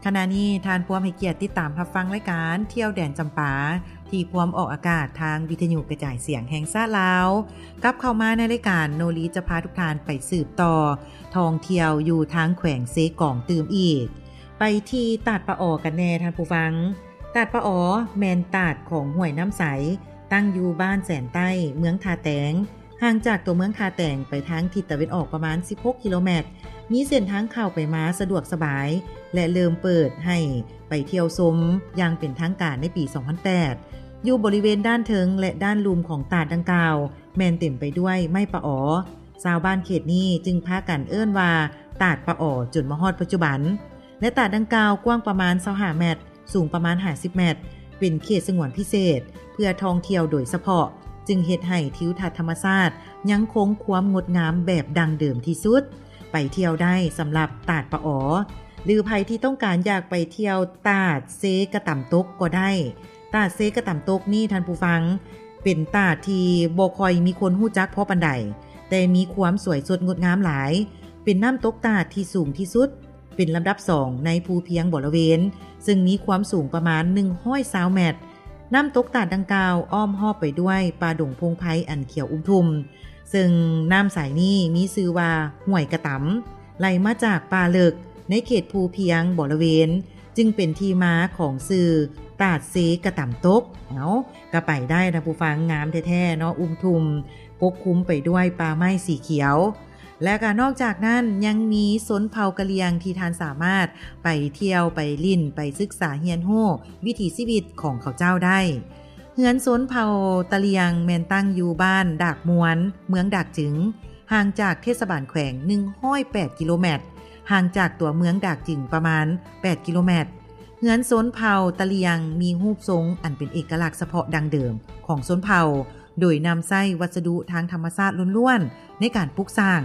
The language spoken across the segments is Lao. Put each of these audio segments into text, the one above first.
ຂະນະນີ້ທ່ານພວມໃຫ້ກຽດຕິດຕາມຮັບຟັງລາຍການທ່ຽວແດນຈຳປາ ທີ່ພວມອອກອາກາດທາງວິທະຍຸກະຈາຍສຽງແຫ່ງຊາດລາວ. ກັບເຂົ້າມາໃນລາຍການ, ໂນລີຈະພາທຸກທ່ານໄປສືບຕໍ່ທ່ອງທ່ຽວຢູ່ທາງແຂວງເຊກອງຕື່ມອີກ. ໄປທີ່ຕາດປາອໍກັນແດ່ທ່ານຜູ້ຟັງ. ຕາດປາອໍແມ່ນຕາດຂອງຫ້ວຍນ້ຳໃສ, ຕັ້ງຢູ່ບ້ານແສນໃຕ້, ເມືອງທ່າແຕງ. ຫ່າງຈາກຕົວເມືອງທ່າແຕງໄປທາງທິດຕາເວັນອອກປະມານສິບຫົກກິໂລແມັດ, ມີເສັ້ນທາງເຂົ້າໄປມາສະດວກສະບາຍ ແລະ ເລີ່ມເປີດໃຫ້ໄປທ່ຽວຊົມຢ່າງເປັນທາງການໃນປີສອງພັນແປດ. ຢູ່ບໍລິເວນດ້ານເທິງ ແລະ ດ້ານລຸ່ມຂອງຕາດດັ່ງກ່າວ ແມ່ນເຕັມໄປດ້ວຍໄມ້ປາອໍ. ຊາວບ້ານເຂດນີ້ຈຶ່ງພາກັນເອີ້ນວ່າຕາດປາອໍ ຈົນມາຮອດປັດຈຸບັນ. ແລະ ຕາດດັ່ງກ່າວກວ້າງປະມານຊາວຫ້າແມັດ, ສູງປະມານຫ້າສິບແມັດ, ເປັນເຂດສະຫງວນພິເສດເພື່ອທ່ອງທ່ຽວໂດຍສະເພາະ, ຈຶ່ງເຮັດໃຫ້ທິວທັດທຳມະຊາດຍັງຄົງຄວາມງົດງາມແບບດັ້ງເດີມທີ່ສຸດ. ໄປທ່ຽວໄດ້ສຳລັບຕາດປາອໍ ຫຼື ໃຜທີ່ຕ້ອງການຢາກໄປທ່ຽວຕາດເຊກະຕຳຕົກກໍໄດ້. ຕາດເຊກະຕຳຕົກນີ້ທ່ານຜູ້ຟັງ, ເປັນຕາດທີ່ບໍ່ຄ່ອຍມີຄົນຮູ້ຈັກພໍປານໃດ, ແຕ່ມີຄວາມສວຍສົດງົດງາມຫຼາຍ, ເປັນນ້ຳຕົກຕາດທີ່ສູງທີ່ສຸດ ເປັນລຳດັບສອງໃນພູພຽງບໍລະເວນ, ເຊິ່ງມີຄວາມສູງປະມານໜຶ່ງຮ້ອຍຊາວແມັດ. ນ້ຳຕົກຕາດດັ່ງກ່າວອ້ອມຮອບໄປດ້ວຍປ່າດົງພົງໄພອັນຂຽວອຸມທຸ່ມ, ເຊິ່ງນ້ຳໃສນີ້ມີຊື່ວ່າຫ້ວຍກະຕຳ, ໄຫຼມາຈາກປ່າເລິກໃນເຂດພູພຽງບໍລະເວນ, ຈຶ່ງເປັນທີ່ມາຂອງຊື່ຕາດເຊກະຕຳຕົກ. ເອົາ, ກະໄປໄດ້ທ່ານຜູ້ຟັງ, ງາມແທ້ໆເນາະ, ອຸມທຸ່ມປົກຄຸມໄປດ້ວຍປ່າໄມ້ສີຂຽວ. ແລະກະນອກຈາກນັ້ນຍັງມີຊົນເຜົ່າກະຫຼ່ຽງທີ່ທ່ານສາມາດໄປທ່ຽວ, ໄປຫຼິ້ນ, ໄປສຶກສາຮຽນຮູ້ວິຖີຊີວິດຂອງເຂົາເຈົ້າໄດ້. ເຮືອນຊົນເຜົ່າຕະຫຼ່ຽງແມ່ນຕັ້ງຢູ່ບ້ານດາກມ່ວນ, ເມືອງດາກຈຶງ, ຫ່າງຈາກເທດສະບານແຂວງໜຶ່ງຮ້ອຍແປດກິໂລແມັດ, ຫ່າງຈາກຕົວເມືອງດາກຈຶງປະມານແປດກິໂລແມັດ. ເຮືອນຊົນເຜົ່າຕະຫຼ່ຽງມີຮູບຊົງອັນເປັນເອກະລັກສະເພາະດັ້ງເດີມຂອງຊົນເຜົ່າ, ໂດຍນຳໃຊ້ວັດສະດຸທາງທຳມະຊາດລ້ວນໆໃນການປຸກສ້າງ,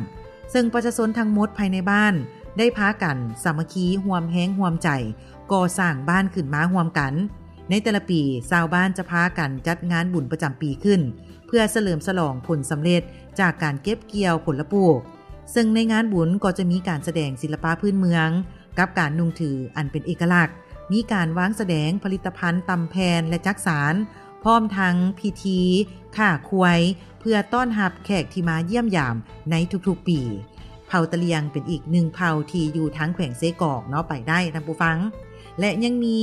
ເຊິ່ງປະຊາຊົນທັງໝົດພາຍໃນບ້ານໄດ້ພາກັນສາມັກຄີຮ່ວມແຮງຮ່ວມໃຈກໍ່ສ້າງບ້ານຂຶ້ນມາຮ່ວມກັນ. ໃນແຕ່ລະປີ, ຊາວບ້ານຈະພາກັນຈັດງານບຸນປະຈຳປີຂຶ້ນ ເພື່ອສະເຫຼີມສະຫຼອງຜົນສຳເລັດຈາກການເກັບກ່ຽວຜົນລະປູກ, ເຊິ່ງໃນງານບຸນກໍຈະມີການສະແດງສິລະປະພື້ນເມືອງ ກັບການນຸ່ງຖືອັນເປັນເອກະລັກ, ມີການວາງສະແດງຜະລິດຕະພັນຕຳແຜ່ນ ແລະ ຈັກສານ, ພ້ອມທັງພິທີຂ້າຄວາຍ ເພື່ອຕ້ອນຮັບແຂກທີ່ມາຢ້ຽມຢາມໃນທຸກໆປີ. ເຜົ່າຕະຫຼ່ຽງເປັນອີກໜຶ່ງເຜົ່າທີ່ຢູ່ທາງແຂວງເຊກອງເນາະ, ໄປໄດ້ທ່ານຜູ້ຟັງ. ແລະ ຍັງມີ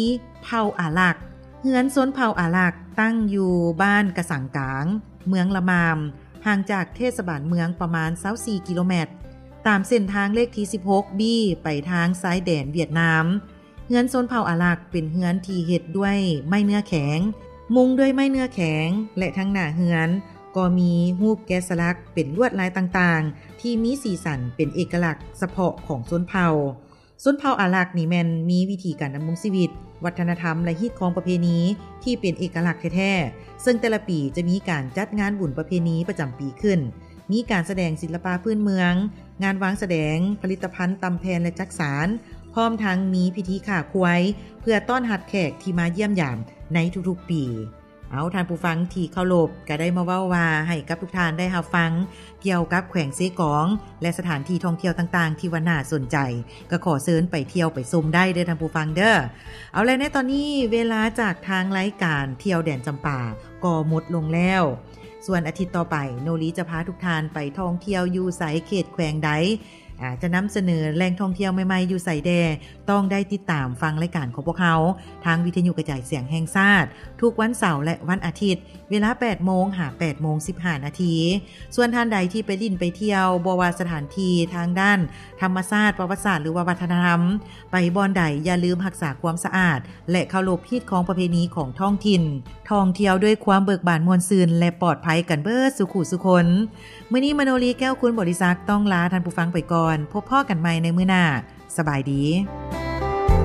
ເຜົ່າອາລັກ. ເຮືອນຊົນເຜົ່າອາລັກຕັ້ງຢູ່ບ້ານກະສັງກາງ, ເມືອງລະມາມ, ຫ່າງຈາກເທດສະບານເມືອງປະມານຊາວສີ່ກິໂລແມັດ, ຕາມເສັ້ນທາງເລກທີສິບຫົກ ບີ ໄປທາງຊາຍແດນຫວຽດນາມ. ເຮືອນຊົນເຜົ່າອາລັກເປັນເຮືອນທີ່ເຮັດດ້ວຍໄມ້ເນື້ອແຂງ, ມຸງດ້ວຍໄມ້ເນື້ອແຂງ ແລະ ທັງໜ້າເຮືອນກໍມີຮູບແກະສະຫຼັກເປັນລວດລາຍຕ່າງໆ ທີ່ມີສີສັນເປັນເອກະລັກສະເພາະຂອງຊົນເຜົ່າ. ຊົນເຜົ່າອາລັກນີ້ແມ່ນມີວິທີການດຳລົງຊີວິດ, ວັດທະນະທຳ ແລະ ຮີດຄອງປະເພນີທີ່ເປັນເອກະລັກແທ້ໆ, ເຊິ່ງແຕ່ລະປີຈະມີການຈັດງານບຸນປະເພນີປະຈຳປີຂຶ້ນ, ມີການສະແດງສິລະປະພື້ນເມືອງ, ງານວາງສະແດງຜະລິດຕະພັນຕຳແຜ່ນ ແລະ ຈັກສານ, ພ້ອມທັງມີພິທີຂ້າຄວາຍ ເພື່ອຕ້ອນຮັບແຂກທີ່ມາຢ້ຽມຢາມໃນທຸກໆປີ. ເອົາ, ທ່ານຜູ້ຟັງທີ່ເຄົາລົບ, ກະໄດ້ມາເວົ້າວ່າໃຫ້ກັບທຸກທ່ານໄດ້ຮັບຟັງກ່ຽວກັບແຂວງເຊກອງ ແລະ ສະຖານທີ່ທ່ອງທ່ຽວຕ່າງໆທີ່ວ່າໜ້າສົນໃຈ, ກະຂໍເຊີນໄປທ່ຽວໄປຊົມໄດ້ເດີທ່ານຜູ້ຟັງເດີ. ເອົາ ແລະ ໃນຕອນນີ້ເວລາຈາກທາງລາຍການທ່ຽວແດນຈຳປາກໍໝົດລົງແລ້ວ. ສ່ວນອາທິດຕໍ່ໄປ, ໂນລີຈະພາທຸກທ່ານໄປທ່ອງທ່ຽວຢູ່ໃສ, ເຂດແຂວງໃດ, ອາ ຈະນຳສະເໜີແຫຼ່ງທ່ອງທ່ຽວໃໝ່ໆຢູ່ໃສແດ່, ຕ້ອງໄດ້ຕິດຕາມຟັງລາຍການຂອງພວກເຮົາ ທາງວິທະຍຸກະຈາຍສຽງແຫ່ງຊາດ ທຸກວັນເສົາ ແລະ ວັນອາທິດ ເວລາແປດໂມງຫາແປດໂມງສິບຫ້ານາທີ. ສ່ວນທ່ານໃດທີ່ໄປຫຼິ້ນໄປທ່ຽວ, ບໍ່ວ່າສະຖານທີ່ທາງດ້ານທຳມະຊາດ, ປະຫວັດສາດ ຫຼືວ່າວັດທະນະທຳ, ໄປບ່ອນໃດຢ່າລືມຮັກສາຄວາມສະອາດ ແລະ ເຄົາລົບຮີດຄອງປະເພນີຂອງທ້ອງຖິ່ນ. ທ່ອງທ່ຽວດ້ວຍຄວາມເບີກບານມ່ວນຊື່ນ ແລະ ປອດໄພກັນເບິດສູ່ຄູ່ສູ່ຄົນ. ມື້ນີ້ມະໂນລີ ແກ້ວຄູນບໍລິສັກ ຕ້ອງລາທ່ານຜູ້ຟັງໄປກ່ອນ. ພົບພໍ້ກັນໃໝ່ໃນມື້ໜ້າ. ສະບາຍດີ.